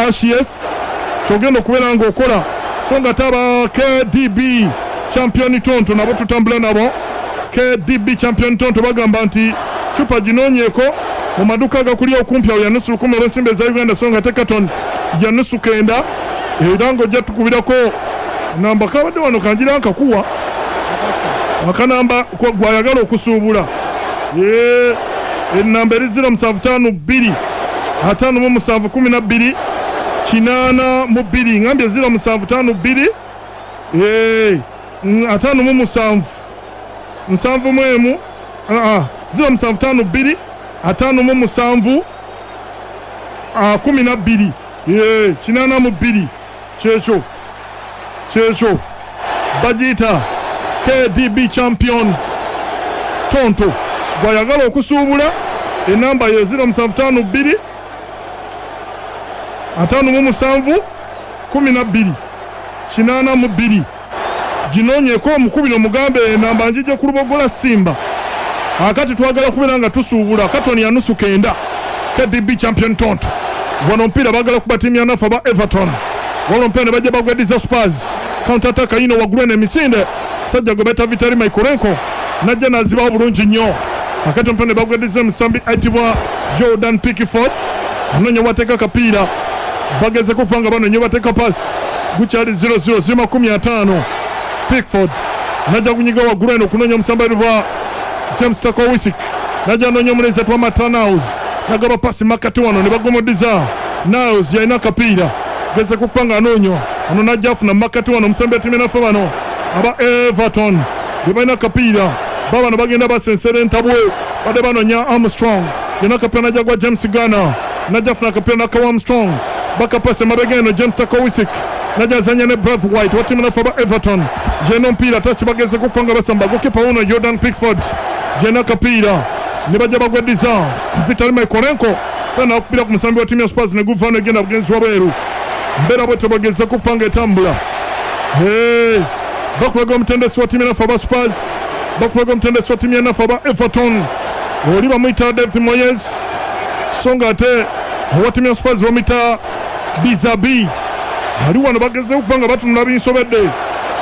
HS kyogenda okubeera ng'okola, so nga ate aba KDB Champion Tonto nabo tutambula nabo. KDB Champion Tonto bagamba nti cupa ginoonyeeko mu maduuka agakuli okumpi awo ya nusu lukumi olw'ensimbi eza Uganda, so nga ate carton ya nusu kenda, era ng'ojja tukubirako namba kabadde wano kangira nkakuwa akanamba gwayagala okusuubula. Enamba eri 0752 57 12 82, ngambye 0752 57 71 0752 57 12 82. Kyekyo kyekyo bagiyita KDB Champion Tonto. Gwayagala okusuubula enamba ye 0752 57 12 82. Ginoonyeeko omukubire omugambe enamba njije ku Lubogola Simba. Akati twagala kubeera nga tusuubula katoni ya nusu kenda. KDB Champion Tonto. Wano omupiira baagala kuba ttiimu ya nafe aba Everton. Wabula omupiira ne bajja bagwediza Spurs. Counter attack yiino waggulu eno emisinde. Sajja gwe bayita Vitali Mykolenko n'ajja n'azibawo bulungi nnyo. Akati omupiira ne bagwediza omusambi ayitibwa Jordan Pickford. Anoonya wateeka akapiira. Bagezeko okuba nga banoonya bateeka pass. Gukyali 0-0 ziri 50. Pickford n'ajja kunyiga waggulu eno okunoonya omusambi ayitibwa James Tarkowski. N'ajja anoonya omulenzi ayitibwa Matt Niles. N'agaba pasi makkati wano ne bagomodiza. Niles yalina akapiira. Gezeko okuba nga anoonya. Ono n'ajja afuna makkati wano omusambi wa ttiimu naffe bano aba Everton be balina akapiira. Babano bagenda basensera entabwe. Badde banoonya Armstrong. Yalina akapiira n'ajja gwa James Garner. N'ajja afuna akapiira n'akawa Armstrong. Bakapasa emabega eno James Tarkowski. N'ajja azannya ne Braithwaite wa ttiimu naffe aba Everton. Yalina omupiira touch bagezeko okuba nga basamba. Goalkeeper wuno Jordan Pickford. Yalina akapiira ne bajja bagwediza Vitali Mykolenko. Era n'akubira ku musambi wa ttiimu ya Spurs ne guva negenda bugenzi wabweru. Mbeera bwetyo bagezeko okuba nga etambula. Bakulaga omutendesi wa ttiimu naffe aba Spurs. Bakulaga omutendesi wa ttiimu ya naffe aba Everton. Oli bamuyita David Moyes. So nga ate owa ttiimu ya Spurs bamuyita Bizabi. Ali wano bagezeeko okuba nga batunula binsobedde.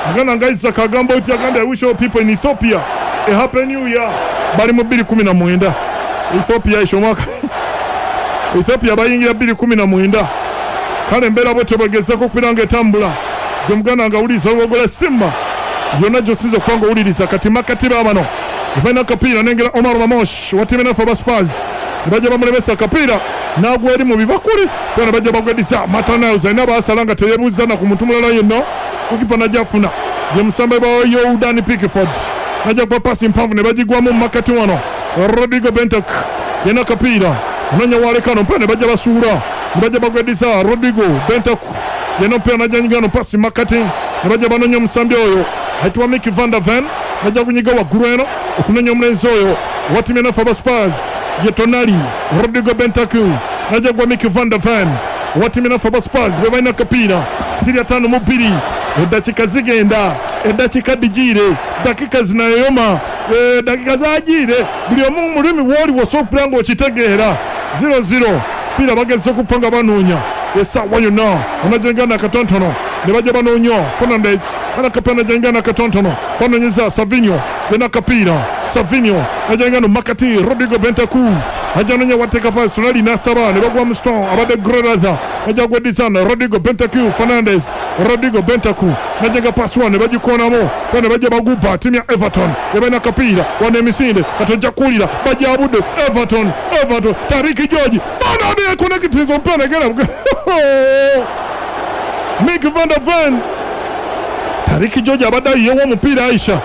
Aganda nga Isaac agamba oti agambye I wish all people in Ethiopia a happy new year. Bali mu 2019. Ethiopia isho omwaka Ethiopia bayingira 2019. Kale embeera bwetyo bwegezaako okubeera nga etambula. Gwe muganda nga awuliriza Lubogola Simba yonna gy'osinza okuba nga owuliriza kati makkati baabano balina akapiira nengera Omar Mamosh wa ttiimu enaffe aba Spurs ne bajja bamulemesa akapiira n'agwa eri mu bibakuli era ne bajja bagwediza Matt Niles alina baasala nga teyeebuuzza na ku muntu mulala yenna. Goalkeeper n'ajja afuna ye musambe wa Jordan Pickford n'ajja kuba paasi mpanvu ne bagigwamu mu makkati wano. Rodrigo Bentancur yalina akapiira anoonya waalekano omupiira ne bajja basuula ne bajja bagwediza Rodrigo Bentancur yalina omupiira n'ajja nyiga no paasi makkati ne bajja banoonya omusambi oyo ayitibwa Micky van der Ven n'ajja kunyiga waggulu eno okunoonya omulenzi oyo owa ttiimu enaffe aba Spurs ye Tonali. Rodrigo Bentancur n'ajja gwa Micky van der Ven owa ttiimu enaffe aba Spurs be balina akapiira ziri 52 eddakiika zigenda eddakiika digiire dakika zinayoyoma dakika zagiire buli omu mu lulimi w'oli w'osobola okubeera ng'okitegeera 0-0 piira bagezesa okuppa nga banoonya essaawa yonna onajengana akatontono ne bajja banoonya Fernandes anakapiira najengana akatontono banoonyeza Savinho yena akapiira Savinho najengana makati Rodrigo Bentancur ajja anoonya wateeka paasi Tonali n'asaba ne bagwa Armstrong abadde Grelatha ajja gwedizana Rodrigo Bentancur Fernandes Rodrigo Bentancur najenga paasi wano ne bagikoonamu era ne bajja bagubba ttiimu ya Everton ebalina akapiira wano emisinde kati ojja kuwulira bajabudde Everton Everton Tariki George bano yekonekitiza omupiira negenda Mick van der Ven. Tariki George abadde ayiyewo omupiira Aisha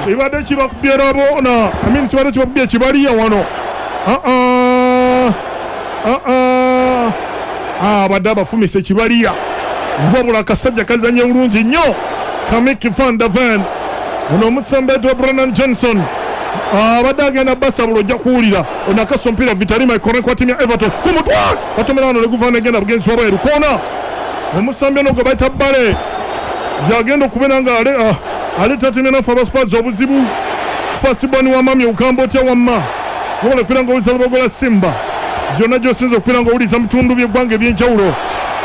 kibadde kibakubye rabona I mean kibadde kibakubye ekibaliya wano abadde abafumise ekibaliya wabula akasajja kazanye bulungi nnyo ka Mick van der Ven. Ono omusambi wa Brennan Johnson abadde agenda basabula ojja kuwulira ono akasa omupiira Vitali Mykolenko wa ttiimu ya Everton ku mutwe batomera wano ne guva negenda bugenzi wabweru koona. Omusambi ono gwe bayita Bale yagenda okubeera nga aleeta ttiimu enaffe aba Spurs obuzibu. First born wa mami ogamba otya wamma wabula okubeera nga owuliza Lubogola Simba yonna gy'osinza okubeera nga owuliza mu bitundu by'eggwanga eby'enjawulo.